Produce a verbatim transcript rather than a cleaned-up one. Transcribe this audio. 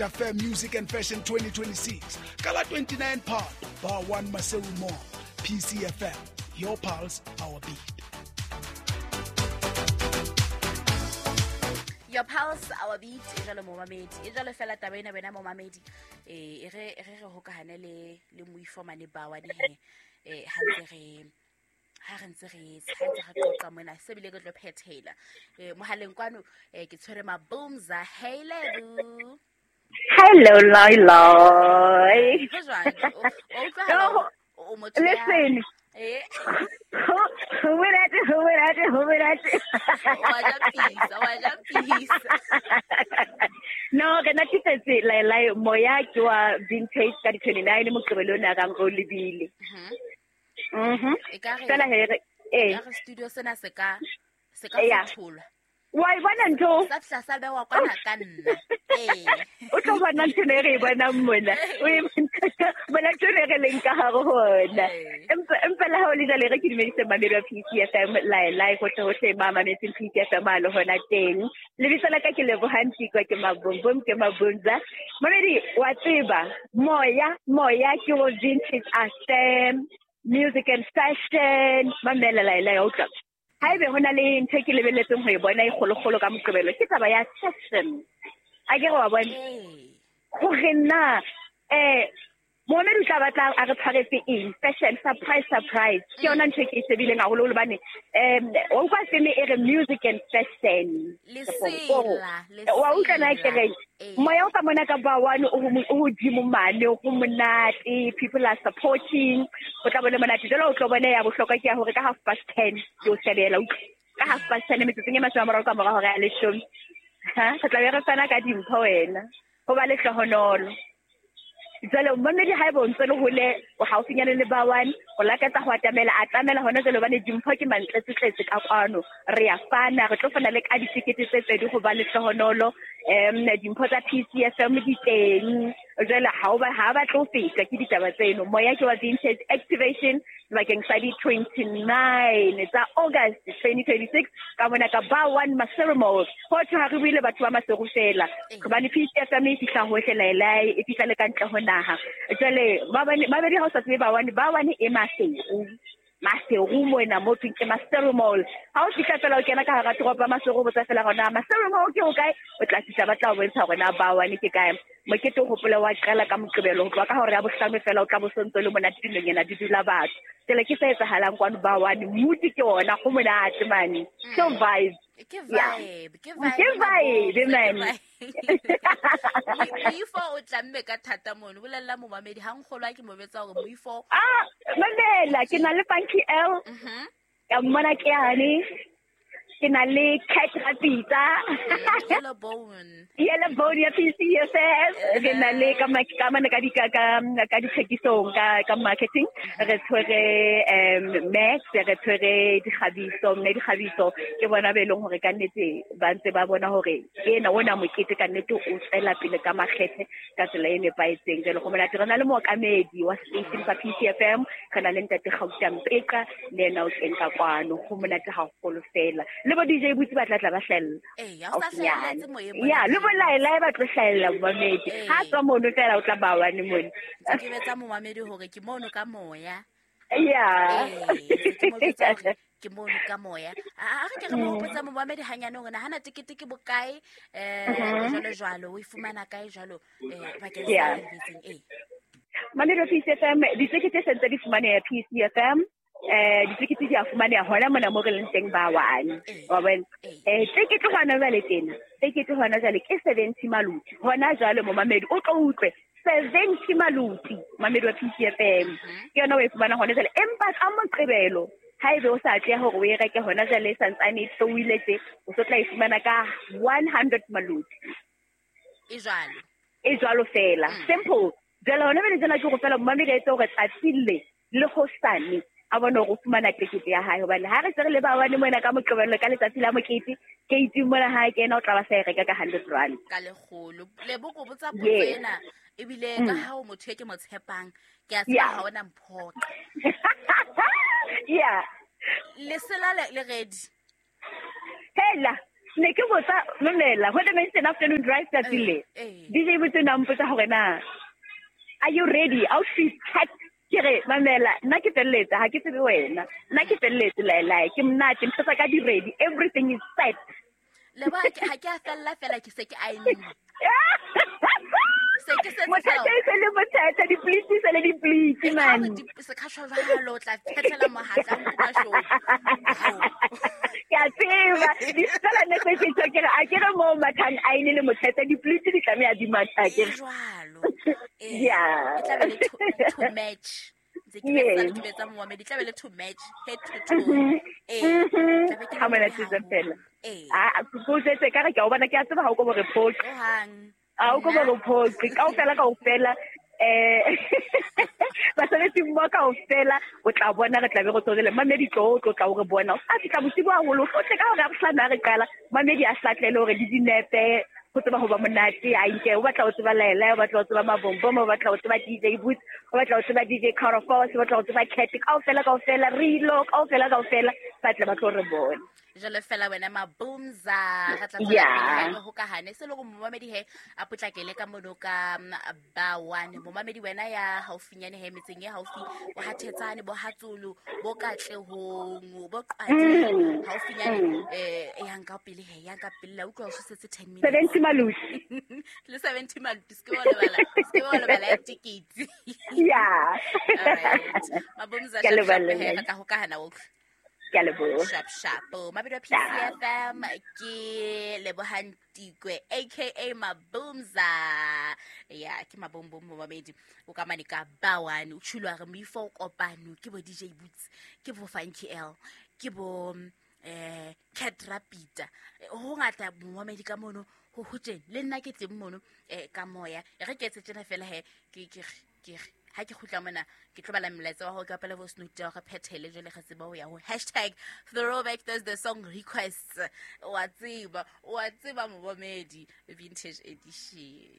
Affair Music and Fashion twenty twenty-six. Gala twenty-nine Part, Bar one Maseru Mall. P C F M, your pulse, our beat. Your pulse, our beat. E jalo momamedi. E jalo fela taba ena wena momamedi. Eh e re re re hokahane le le moifo mane ba wa ne he. Eh ha ntse re ha re ntse re ha ntse re qoqa mona se bile ke tlo phethela. Eh mohaleng kwano eh ke tshwere Mabumza. Hey Lebu. Hello Loi Loi. Listen. Eh. Who would I do? Who would I do? Who would I do? No, ke na ke tsetse la la moya ke wa vintage ka di twenty-nine moqebelo na ka ngo lebile. Mhm. E ka re fela here eh ka studio sena se ka se ka fotholwa. Wa e bona ntho? Sa fihla sa bewa kwana ka nna. Eh. O tlo bona ntho e re e bonang mona. O e bona ntho e re leng ka hare ho ona. Empa empa la ha o le jwale re ke dumedise mamedi wa P C F M la la hohle hohle ba mametseng P C F M a le hona teng. Lebitso la ka ke Lebohang Tikwa, ke Mabumbum, ke Mabunza. Mamedi wa tseba moya moya ke o vintage affair music and fashion mamela la la o tla. Haebe hona le ntho ke lebelletseng ho e bona e kgolokgolo ka moqebelo ke taba ya fashion. A ke re wa bona hore na eh momedi o tla batla a re tshwaretse eng fashion surprise surprise ke yona ntho ke e shebileng haholo hobane um wa utlwa seme e re music and fashion lesela wa utlwa na ke re moya o ka mona ka ba one o hodimo mane go monate, people are supporting o tla bona monate jalo o tlo bona ya bohlokwa ke ya hore ka half past ten ke o shebela ka half past ten metsotsong e mashome a mararo ka mora hora ya leshome ha re tla be re fana ka dimpho wena ho ba lehlohonolo. Jwale momedi ha ebe o ntse le hole o haufinyane le ba one o lakatsa ho atamela atamela hona jwale hobane dimpho ke mantletsetletse ka kwano re ya fana re tlo fana le ka ditikete tse pedi ho ba lehlohonolo em dimpho tsa P C F M di teng jwale ha o ba ha ba tlo feta ke ditaba tseno moya ke wa vintage activation bakeng sa di twenty-nine tsa August twenty twenty-six ka mona ka ba one Maseru Mall ho thwe ha re buile batho ba Maseru fela hobane P C F M e fihla hohle laelai e fihla le ka ntle ho naha jwale mabedi ha o sa tsebe ba one ba one e Maseru Maseru mona mo thweng ke Maseru Mall ha o fihla fela o kena ka hara toropo ya Maseru botsa fela hore Maseru Mall ke o kae o tla fihla ba tla o bontsha hore na ba one ke kae mokete o hopola wa qala ka moqebelo ho tloha ka hora ya bohlano fela o tla bo sontso le monate dinonyana di dula batho tsela ke se etsahalang kwano ba one mood ke ona go monate mane so vibe ke vibe ke vibe ke vibe man moifo o tlamme ka thata mono bolella momamedi ha nkgolwa ke mo betsa hore moifo ah mamela ke na le Funky L mhm ka mmona ke yane ke na le Cat Rapita Yellow Bone Yellow Bone ya P C F M ke na le ka ka mane ka di ka ka dithekisong ka ka marketing re tshwere um Max re tshwere dikgabiso mme dikgabiso ke bona be leng hore ka nnete ba ntse ba bona hore ena ona mokete ka nnete o tswela pele ka makgethe ka tsela e nepahetseng jwale go monate re na le mookamedi wa station sa P C F M re na le ntate Gauta Mpeka le yena o teng ka kwano go monate haholo fela le bo D J Butsi ba tla tla ba hlella eh ya o sa hlelletse moyeng ya le bo laela ba tlo hlella momamedi ha tswa mono fela o tla ba one mone ke betsa momamedi hore ke mono ka moya ya ke mono ka moya a re ke re mo hopotsa momamedi hanyane hore na hana tekete ke bokae eh jwalo jwalo o e fumana kae jwalo eh bakeng sa lebitseng eh Mamedi P C F M ditekete se ntse di fumaneha P C F M eh ditekete di a fumaneha hona mona mo re leng teng ba one wa bona eh tekete hona jwale tena tekete hona jwale ke seventy maluti hona jwale momamedi o tlo utlwe seventy maluti mamedi wa P C F M ke yona o e fumana hona jwale empa ka moqebelo haebe o sa tle hore o e reke hona jwale e santsane e theohile tje o so tla e fumana ka one hundred maluti e jwalo e jwalo fela simple jwale hona bele jana ke go fela momamedi a etse hore tsatsi le le hosane a bona hore o fumana tekete ya hae hobane ha re se re le ba one mona ka moqebelo ka letsatsi la mokete ke itse mona ha ke ena o tla ba sa e reka ka hundred rand ka lekgolo Lebo ko botsa potso ena ebile ka ha o motho e ke mo tshepang ke a tseba ha ona mphoqa yeah lesela le ready hela Ne ke botsa mamela ho the mention afternoon drive tsatsi le. D J botse na mpotsa hore na are you ready? Outfit check. Ke re mamela nna ke felletse ha ke tsebe wena. Nna ke felletse la la ke monate ntho tsa ka di ready. Everything is set. Le ba ha ke a fella fela ke se ke a ene. Se ke se Mothatha e se le mothatha di-pleats se le di-pleats man. Se ka shwa jwalo o tla phethela mohatla nka show. Ke a tseba di fela ne se ke ke re a ke re mo mathang a ine le mothatha di-pleats di tlameha di matha ke re. Jwalo. Yeah. E tla be le to match. Ntse ke betsa ke betsa momamedi tla be le to match head to toe. Eh. Ha mona tse fela. Ah, go tse ka re ke o bona ke a tseba ha o ko bo re phoqe. Hang. A o ko bo re phoqe kaofela kaofela eh basebetsi mmoho kaofela o tla bona re tla be re tswele mamedi tlo tlo tla o re bona a fihla bosibu haholo o tle ka hore a bohlano ha re qala mamedi a hlatlele hore di dinepe go tseba ho ba monate a nke o batla ho tseba Laela o batla ho tseba Mabombo o batla ho tseba D J Boots o batla ho tseba D J Carafos o batla ho tseba Cat kaofela kaofela Rilo kaofela kaofela ba tla ba tlo re bona jalo fela wena Mabumza re tla tswela pele ho ka hane se le go momamedi he a potlakele ka mono ka ba one momamedi wena ya haufinyane he metseng e haufi bo hathetsane bo hatsolo bo katlehong bo qwadi haufinyane eh yang ka pele he yang ka pele la utlwa o setse ten minutes seventy malusi le seventy malusi ke wa lebala ke wa lebala ticket yeah all right Mabumza ke lebala he re tla ho ka hana o ke a leboha. Sharp sharp. Mabedi wa P C F M ke Lebohang Tikwe aka Mabumza. Yeah, ke Mabombom momamedi. O ka mane ka ba one o tshulwa re moifo kopano ke bo D J Boots, ke bo Funky L, ke bo eh Cat Rapida. Ho ngata momamedi ka mono ho hoteng le nna ke teng mono eh ka moya. Re ke etse tjena fela he ke ke ke ha ke khutla mona ke tlo bala molaetsa wa ho ka pele voice note ya go phethele jole ga tseba ho ya ho hashtag throwback Thursday song requests wa tseba wa tseba momamedi vintage edition.